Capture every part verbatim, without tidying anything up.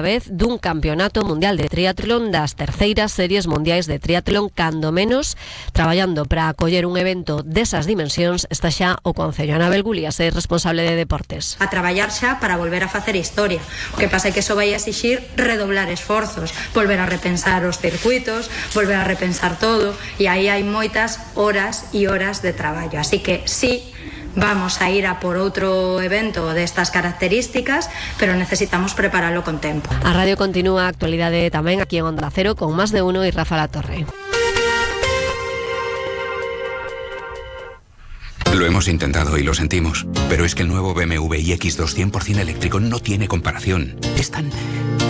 vez dun campeonato mundial de triatlón das terceiras series mundiais de triatlón, cando menos traballando para acoller un evento desas dimensións está xa o Concello. Anabel Gulías é responsable de deportes. A traballar xa para volver a facer historia. O que pasa é que iso vai exixir redoblar esforzos, volver a repensar os circuitos, volver a repensar todo, e aí hai moitas horas e horas de traballo. Así que sí, vamos a ir a por outro evento destas características, pero necesitamos prepararlo con tempo. A radio continúa, a actualidade tamén aquí en Onda Cero con Más de Uno e Rafa Latorre. Lo hemos intentado y lo sentimos, pero es que el nuevo B M W iX dos cien por ciento eléctrico no tiene comparación. Es tan...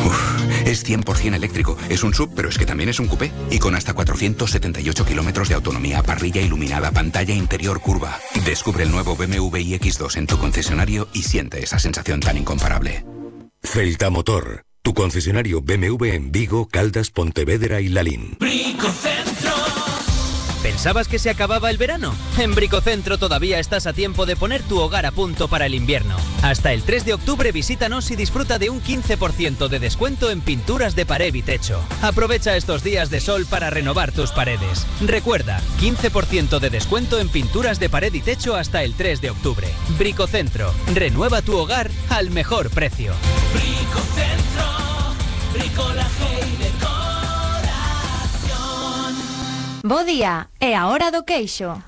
Uf, es cien por ciento eléctrico. Es un sub, pero es que también es un coupé. Y con hasta cuatrocientos setenta y ocho kilómetros de autonomía, parrilla iluminada, pantalla interior curva. Descubre el nuevo B M W iX dos en tu concesionario y siente esa sensación tan incomparable. Celta Motor, tu concesionario B M W en Vigo, Caldas, Pontevedra y Lalín. Bricocentro. ¿Pensabas que se acababa el verano? En Bricocentro todavía estás a tiempo de poner tu hogar a punto para el invierno. Hasta el tres de octubre visítanos y disfruta de un quince por ciento de descuento en pinturas de pared y techo. Aprovecha estos días de sol para renovar tus paredes. Recuerda, quince por ciento de descuento en pinturas de pared y techo hasta el tres de octubre. Bricocentro, renueva tu hogar al mejor precio. Bricocentro, bricolaje y decoración. Bo día, é a hora do queixo.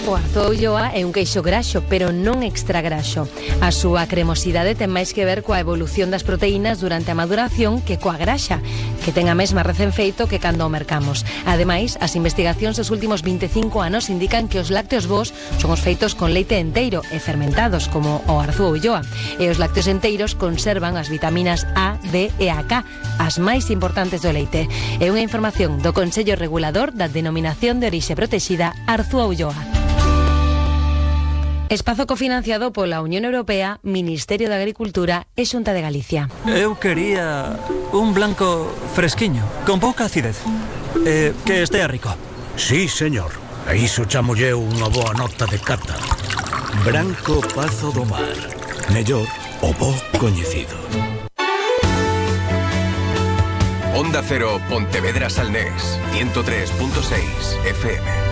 O Arzúa Ulloa é un queixo graxo, pero non extra graxo. A súa cremosidade ten máis que ver coa evolución das proteínas durante a maduración que coa graxa, que ten a mesma recén feito que cando o mercamos. Ademais, as investigacións dos últimos vinte e cinco anos indican que os lácteos bos son os feitos con leite enteiro e fermentados, como o Arzúa Ulloa. E os lácteos enteiros conservan as vitaminas A, D e a K, as máis importantes do leite. É unha información do Consello Regulador da Denominación de Orixe Protexida Arzúa Ulloa. Espazo cofinanciado pola Unión Europea, Ministerio de Agricultura e Xunta de Galicia. Eu quería un blanco fresquiño, con pouca acidez. Eh, que estea rico. Sí, señor. A iso chamolle unha boa nota de cata. Branco Pazo do Mar. Mellor o bo coñecido. Onda Cero, Pontevedra Salnés, ciento tres punto seis F M.